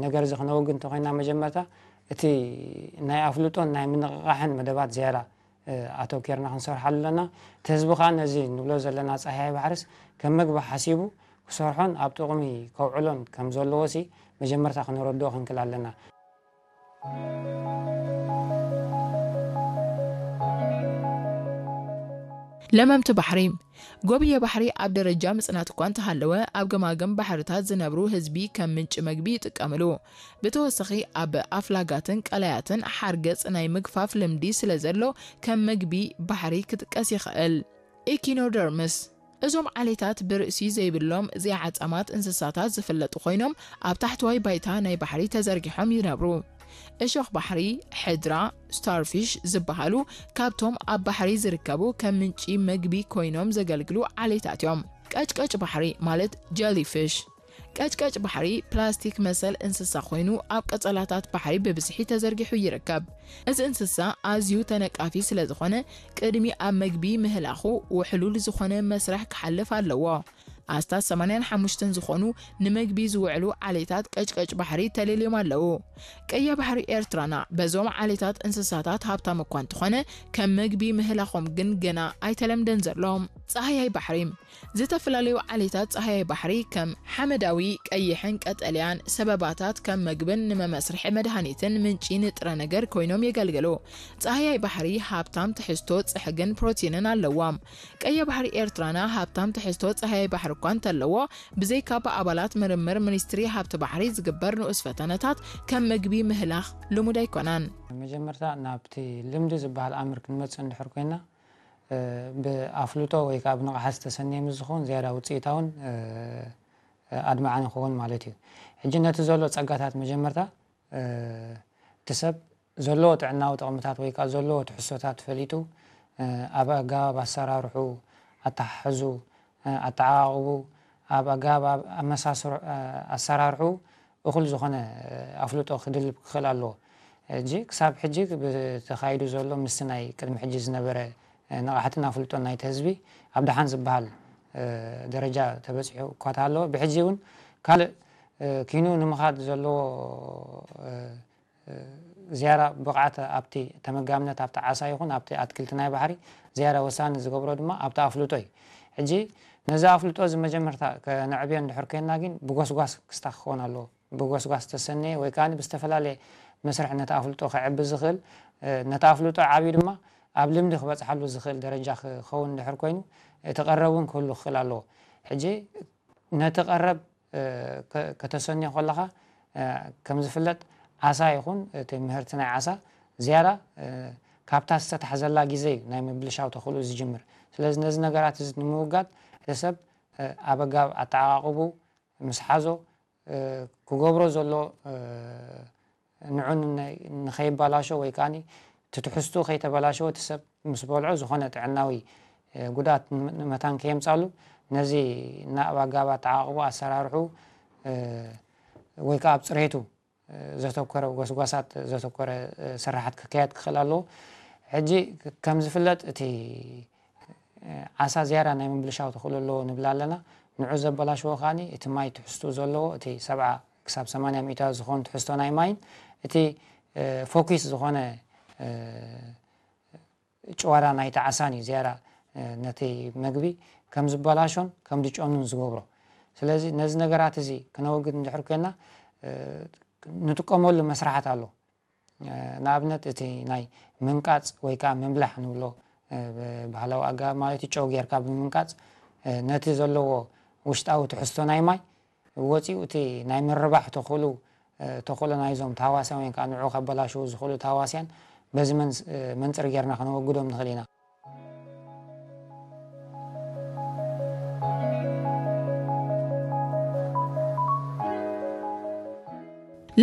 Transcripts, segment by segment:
ነገር እዚ ክነወግድ እንተኾይና፣ መጀመርታ እቲ ናይ ኣፍልጦን ናይ ምንቕቓሕን መደባት ዝያዳ ኣተኪርና ክንሰርሓሉ ኣለና። እቲ ህዝቢ ከዓ ነዚ ንብሎ ዘለና ጻህያይ ባሕርስ ከም መግቢ ሓሲቡ ክሰርሖን ኣብ ጥቕሚ ከውዕሎን ከም ዘለዎሲ መጀመርታ ክነረድኦ ክንክል ኣለና። ለመምቲ ባሕሪ። ጎብየ ባሕሪ ኣብ ደረጃ ምጽናት እኳ እንተሃለወ፣ ኣብ ገማግም ባሕርታት ዝነብሩ ህዝቢ ከም ምንጪ መግቢ ይጥቀምሉ። ብተወሳኺ ኣብ ኣፍላጋትን ቀላያትን ሓርገጽ ናይ ምግፋፍ ልምዲ ስለ ዘሎ ከም መግቢ ባሕሪ ክጥቀስ ይኽእል። ኢኪኖደርምስ። እዞም ዓሌታት ብርእሲ ዘይብሎም ዘይዓጻማት እንስሳታት ዝፍለጡ ኮይኖም ኣብ ታሕተዋይ ባይታ ናይ ባሕሪ ተዘርጊሖም ይነብሩ። እሾኽ ባሕሪ፣ ሕድራ፣ ስታርፊሽ ዝበሃሉ ካብቶም ኣብ ባሕሪ ዝርከቡ ከም ምንጪ መግቢ ኮይኖም ዘገልግሉ ዓሌታት እዮም። ቀጭቀጭ ባሕሪ ማለት ጀሊፊሽ። ቀጭቀጭ ባሕሪ ፕላስቲክ መሰል እንስሳ ኮይኑ ኣብ ቀጸላታት ባሕሪ ብብዝሒ ተዘርጊሑ ይርከብ። እዚ እንስሳ ኣዝዩ ተነቃፊ ስለ ዝኾነ ቅድሚ ኣብ መግቢ ምህላኹ ውሕሉል ዝኾነ መስርሕ ክሓልፍ ኣለዎ። ኣስታት ሰማንያን ሓሙሽተን ዝኾኑ ንመግቢ ዝውዕሉ ዓሌታት ቀጭቀጭ ባሕሪ ተለልዮም ኣለዉ። ቀይሕ ባሕሪ ኤርትራና በዞም ዓሌታት እንስሳታት ሃብታም እኳ እንተኾነ ከም መግቢ ምህላኾም ግን ገና ኣይተለምደን ዘሎ። ጻህያይ ባሕሪ። ዝተፈላለዩ ዓሌታት ጻህያይ ባሕሪ ከም ሓመዳዊ፣ ቀይሕን ቀጠልያን ሰበባታት ከም መግብን ንመመስርሒ መድሃኒትን ምንጪ ንጥረ ነገር ኮይኖም የገልግሉ። ጻህያይ ባሕሪ ሃብታም ትሕዝቶ ጽሕግን ፕሮቲንን ኣለዎም። ቀይሕ ባሕሪ ኤርትራና ሃብታም ትሕዝቶ ጻህያይ ባሕሪ እኳ እንተለዎ፣ ብዘይካ ብኣባላት ምርምር ሚኒስትሪ ሃብቲ ባሕሪ ዝግበር ንኡስ ፈተነታት ከም መግቢ ምህላኽ ልሙድ ኣይኮነን። መጀመርታ ናብቲ ልምዲ ዝበሃል ኣምር ክንመጽእ እንድሕር ኮይና፣ ብኣፍልጦ ወይ ከዓ ብንቕሓት ዝተሰነየ ምስ ዝኸውን ዝያዳ ውፅኢታውን ኣድማዕን ይኸውን ማለት እዩ። ሕጂ ነቲ ዘሎ ፀጋታት መጀመርታ እቲ ሰብ ዘለዎ ጥዕናዊ ጥቕምታት ወይ ከዓ ዘለዎ ትሕዝቶታት ፈሊጡ ኣብ ኣገባብ ኣሰራርሑ፣ ኣተሓሕዙ፣ ኣተዓቓቕቡ፣ ኣብ ኣገባብ ኣመሳስር ኣሰራርሑ እኹል ዝኾነ ኣፍልጦ ክድልብ ክኽእል ኣለዎ። ሕጂ ክሳብ ሕጂ ብተኻይዱ ዘሎ ምስቲ ናይ ቅድሚ ሕጂ ዝነበረ ንቕሓትን ኣፍልጦን ናይቲ ህዝቢ ኣብ ደሓን ዝበሃል ደረጃ ተበፂሑ እኳ ተሃለወ፣ ብሕጂ እውን ካልእ ኪኑ ንምኻድ ዘለዎ ዝያዳ ብቕዓት ኣብቲ ተመጋምነት ኣብቲ ዓሳ ይኹን ኣብቲ ኣትክልቲ ናይ ባሕሪ ዝያዳ ወሳኒ ዝገብሮ ድማ ኣብቲ ኣፍልጦ እዩ። ሕጂ ነዚ ኣፍልጦ እዚ መጀመርታ ከነዕብዮ እንድሕር ኮይንና ግን ብጎስጓስ ክስታ ክኸውን ኣለዎ። ብጎስጓስ ዝተሰነየ ወይ ከዓ ብዝተፈላለየ መስርሕ ነቲ ኣፍልጦ ከዕቢ ዝኽእል፣ ነቲ ኣፍልጦ ዓብዩ ድማ ኣብ ልምዲ ክበፅሓሉ ዝኽእል ደረጃ ክኸውን እንድሕር ኮይኑ እቲ ቀረብ እውን ክህሉ ክኽእል ኣለዎ። ሕጂ ነቲ ቀረብ ከተሰንዮ ከለኻ ከም ዝፍለጥ ዓሳ ይኹን እቲ ምህርቲ ናይ ዓሳ ዝያዳ ካብታ ዝተታሕዘላ ግዜ እዩ ናይ ምብልሻው ተኽእሎ ዝጅምር። ስለዚ ነዚ ነገራት እዚ ንምውጋድ እቲ ሰብ ኣብ ኣገባብ ኣተዓቓቕቡ ምስ ሓዞ ክገብሮ ዘሎ ንዑ ንኸይባላሾ ወይ ከዓ ትትሕዝቱ ከይተበላሸወ እቲ ሰብ ምስ በልዖ ዝኾነ ጥዕናዊ ጉድኣት ንመታን ከየምፃሉ ነዚ ናብ ኣገባብ ኣተዓቓቕቦ ኣሰራርሑ ወይ ከዓ ኣብ ፅሬቱ ዘተኮረ ጎስጓሳት ዘተኮረ ስራሓት ክካየድ ክኽእል ኣለዎ። ሕጂ ከም ዝፍለጥ እቲ ዓሳ ዝያዳ ናይ ምብልሻው ተኽእሎ ኣለዎ ንብል ኣለና። ንዑ ዘበላሽዎ ከዓኒ እቲ ማይ ትሕዝቱ ዘለዎ እቲ ሰብዓ ክሳብ ሰማንያ ሚእታዊ ዝኾን ትሕዝቶ ናይ ማይን እቲ ፎኪስ ዝኾነ ጭዋዳ ናይቲ ዓሳን እዩ ዝያዳ ነቲ መግቢ ከም ዝበላሾን ከም ዝጨኑን ዝገብሮ። ስለዚ ነዚ ነገራት እዚ ክነወግድ እንድሕር ኮይና ንጥቀመሉ መስራሓት ኣሎ። ንኣብነት እቲ ናይ ምንቃጽ ወይ ከዓ ምብላሕ ንብሎ ብባህላዊ ኣገባብ ማለት እዩ፣ ጨው ጌርካ ብምንቃጽ ነቲ ዘለዎ ውሽጣዊ ትሕዝቶ ናይ ማይ ወፂኡ እቲ ናይ ምርባሕ ተኽእሎ ተኽእሎ ናይዞም ተሃዋስያን ወይ ከዓ ንዑ ከበላሽዉ ዝኽእሉ ተሃዋስያን በዚ መንፅር ጌርና ከነወግዶም ንኽእል ኢና።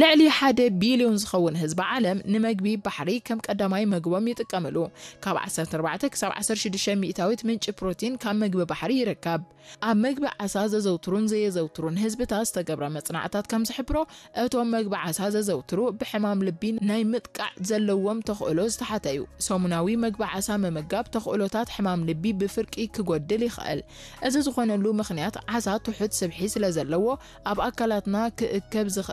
ልዕሊ ሓደ ቢልዮን ዝኸውን ህዝቢ ዓለም ንመግቢ ባሕሪ ከም ቀዳማይ መግቦም ይጥቀምሉ። ካብ ዓሰርተ ኣርባዕተ ክሳብ ዓሰርተ ሽዱሽተ ሚእታዊት ምንጪ ፕሮቲን ካብ መግቢ ባሕሪ ይርከብ። ኣብ መግቢ ዓሳ ዘዘውትሩን ዘየዘውትሩን ህዝብታት ዝተገብረ መጽናዕታት ከም ዝሕብሮ፣ እቶም መግቢ ዓሳ ዘዘውትሩ ብሕማም ልቢ ናይ ምጥቃዕ ዘለዎም ተኽእሎ ዝተሓተ እዩ። ሰሙናዊ መግቢ ዓሳ ምምጋብ ተኽእሎታት ሕማም ልቢ ብፍርቂ ክጎድል ይኽእል። እዚ ዝኾነሉ ምኽንያት ዓሳ ትሑት ስብሒ ስለ ዘለዎ ኣብ ኣካላትና ክእከብ ዝኽእል